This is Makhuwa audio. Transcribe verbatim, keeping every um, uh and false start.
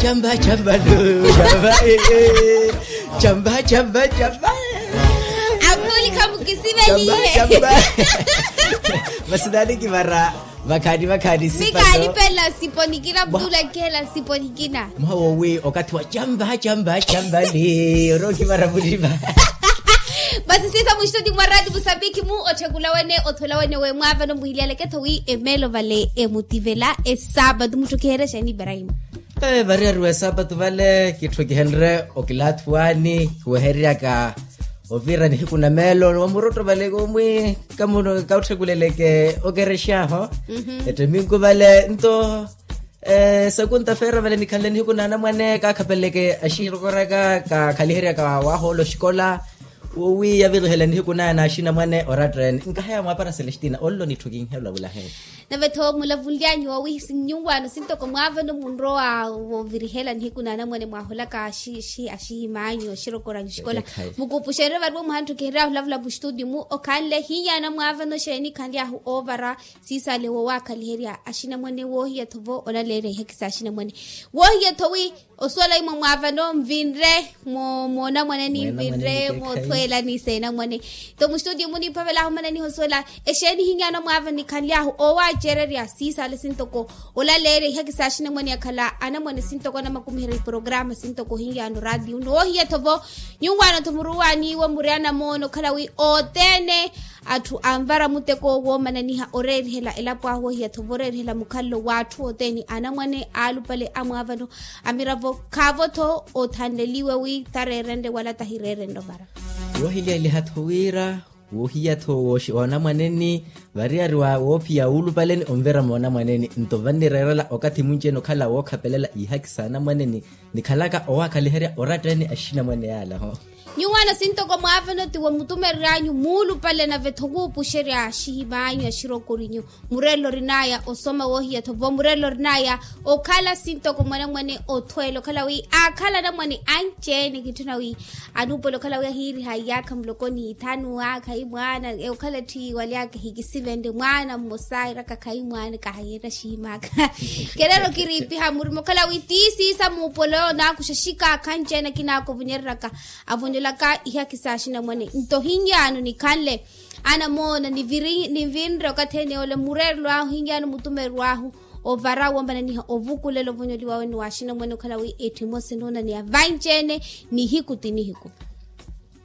Champa champa lo champa. Champa champa champa. Akhuli khamukisiveliye. Champa champa. Masinani kivara. Vakhaani vakhaani sipato. Mikaalipela nsipo nikina mutula nkihela nsipo nikina. Mwaha wowi okathi wa champa champa champa ni orookivara muliva. Basi siisa muxitoti mwa rati musambiki mu otthekula wene othwela wene we mwaavano muhiliyaleke-tho wi emeelo vale emutivela esaapatu mutthokiherya xeeni ibrahima? Variyari wa esaapatu vale kitthokihenrye okilaathuwani kiwehereryaka ovira nihiku na meelo wa murotto vale kumwi kamuno kautthekuleleke okerexa aho. Etteminku vale nto sakunta feera vale nikhanle nihiku na anamwane kaakhapeleke axirokoraka kaakhaliheryaka waahoola oxikola. Wowi yavirihela nihiku naya na axinamwane oratta ene nkahaya mwaapara celestina ollo nitthu kinhelwa vulahe. Nave-tho mulavunlyanyu wowi nyuwaano sintoko mwaavano munrowa voovirihela nihiku na anamwane mwaaholaka axihimaanyu axirokoranyu xikola. Mukupuxererye variwo muhantthokihereryahu olavula muxitudio mu okhanle hiyaana mwaavano xeeni khanly'ahu oovara siisale wowaakhaliherya axinamwane woohiya-tho vo olaleerya ihaki s'axinamwane woohiya-tho wi osuwela imwe mwaavano nvinre moonamwaneni nvinre moothweelani s'enamwane. Nto muxitudio muniiphavel'ahu mananiha osuwela exeeni hiyaana mwaavano nikhanly'ahu oowaacererya siisale sintoko olaleerya ihaki s'axinamwane akhala anamwane sintoko anamakumiherya iporokaramu sintoko hiyaana oraatiyo nno woohiya-tho vo nyuwaano-tho muruwaani iwo muri anamoono okhala wi othene atthu anvara muteko woomananiha oreerihela elapo ahu ohiya-tho voreerihela mukhalelo w'atthu othene anamwane aalupale amwaavano amiravo khaavo-tho othanleliwe wi tareerenrye wala tahireerenrye ovara. Woohiliyaliha-tho wira woohiya-tho wooxi oonamwaneni variyari wa woophiya wuulupaleni onvira moonamwaneni nto vannireerela okathi munci-ene okhala wookhapelela ihaki s'anamwaneni nikhalaka owaakhaliherya oratta-ene axinamwane yaala ho. Nyuwaano sintoko mwaavano ti womutumerery'anyu muulupale nave-tho wuupuxerya axihim'anyu axirookorinyu mureerelo orin'aya osoma woohiya-tho vo mureerelo orin'aya okhala sintoko mwanamwane othweela okhala wi aakhala anamwane anci-ene kitthuna wi anuupola okhala wi ahiiriha iyaakha muloko ni ithanu aakha imwaana okhala tthi waly'aka ehikisivenrye mwaana mmosa airaka khaimwaana kahayeera axihim'aka. Kereera okiriipiha murima okhala wi tiisiisa muupola oyo naakuxa xikaakha anci-ene akinaaka ovonyereryaka avonyolaka ihaki s'axinamwane nto hiyaano nikhanle anamoona nivinre okathi ene ole mureerelo ahu hiyaano mutumerery'ahu ovara woomananiha ovukulela ovonyoliwa wene w'axinamwane okhala wi etthu emosi enuunaneya vanci-ene nihiku ti nihiku.